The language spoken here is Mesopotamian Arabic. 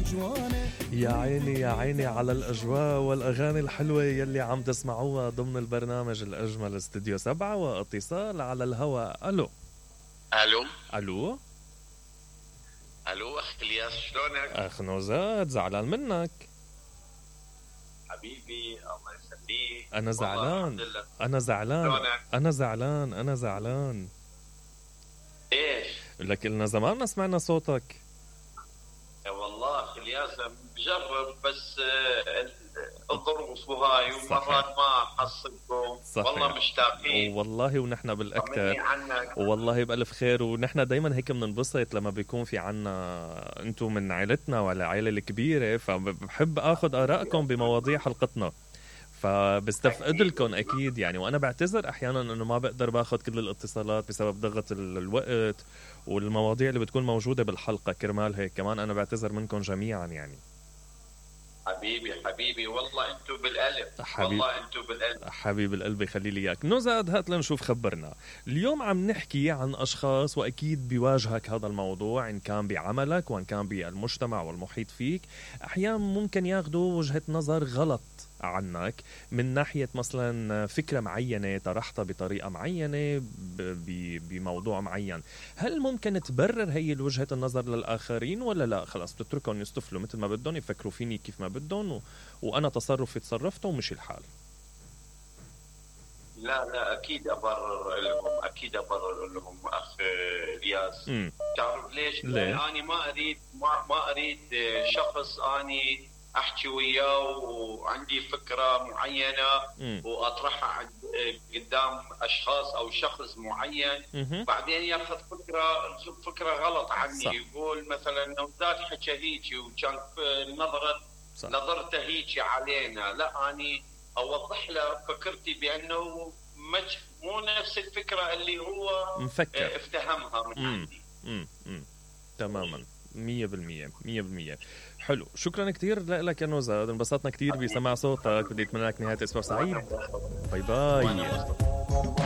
يا عيني يا عيني على الأجواء والأغاني الحلوة يلي عم تسمعوها ضمن البرنامج الأجمل استوديو 7 واتصال على الهواء. ألو الو ألو الو اخ الياس، شلونك؟ أخ نوزاد، زعلان منك. حبيبي الله يخليك. أنا زعلان أنا زعلان شلونك؟ أنا زعلان ايش؟ لك إلنا زمان ما سمعنا صوتك. والله اخ الياس بجرب بس الظروف وهاي ومرات ما حصلكم. والله مشتاقين والله ونحن بالأكثر عنك. والله بألف خير، ونحن دايما هيك بننبسط لما بيكون في عنا انتم من عائلتنا ولا عائلة الكبيرة، فبحب اخذ آرائكم بمواضيع حلقتنا، فبستفقد لكم اكيد يعني. وانا بعتذر احيانا انه ما بقدر باخذ كل الاتصالات بسبب ضغط الوقت والمواضيع اللي بتكون موجودة بالحلقة. كرمال هيك كمان انا بعتذر منكم جميعا يعني. حبيبي والله انتو بالقلب. والله انتو بالقلب حبيب القلب، يخلي لي اياك. نزاد هات لنشوف، خبرنا اليوم. عم نحكي عن اشخاص واكيد بيواجهك هذا الموضوع ان كان بعملك وان كان بالمجتمع والمحيط فيك، احيانا ممكن ياخذوا وجهة نظر غلط عنك من ناحية مثلا فكرة معينة طرحتها بطريقة معينة بموضوع معين. هل ممكن تبرر هي الوجهة النظر للآخرين ولا لا؟ خلاص بتتركهم يستفلوا مثل ما بدهم، يفكروا فيني كيف ما بدهم وأنا تصرفي تصرفته ومشي الحال. لا اكيد ابرر لهم اخ الياس. تعرف ليش؟ انا ما اريد شخص اني احكي وياه وعندي فكره معينه واطرحها قدام اشخاص او شخص معين، بعدين ياخذ فكره غلط عني. صح. يقول مثلا نوزاد حكى هيك وكان نظرته هيك علينا. لا، اني اوضح له فكرتي بانه مو نفس الفكره اللي هو مفكر افتهمها من عندي. تماما 100%. حلو، شكرا كتير لك يا نوزاد، انبسطنا كتير بسماع صوتك. بدي اتمنى لك نهاية اسبوع سعيد. باي باي.